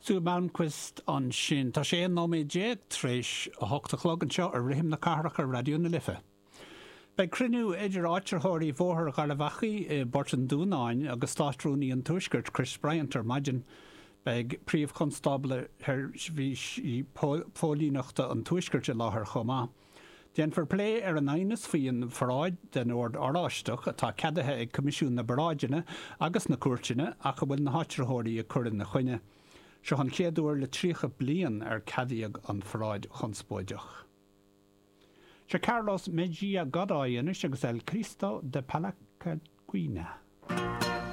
Sue Malmquist ansin. Tá sé 11 nóiméad tar éis a hocht a chlog anseo ar Rithim na Cathrach ar Raidió na Life. Beidh cruinniú idir áitritheoirí Bhóthar Gharbh Achaidh i bPort an Dúnáin agus Státrúnaí an Tuaiscirt, Chris Bryant ar maidin. Beidh Príomh-Chonstábla Sheirbhísí Póilíneachta an Tuaiscirt i láthair chomh maith. Déanfar plé ar an aighneas faoi an pharáid den Ord Oráisteach atá ceadaithe ag Coimisiún na bParáideanna agus na Cúirteanna ach a bhfuil na háitritheoirí ag cur ina choinne. Seo an chéad uair le 30 bliain ar ceadaíodh an pharáid chonspóideach. Seo Carlos Mejia Godoy anois agus El Cristo de Palacagüina.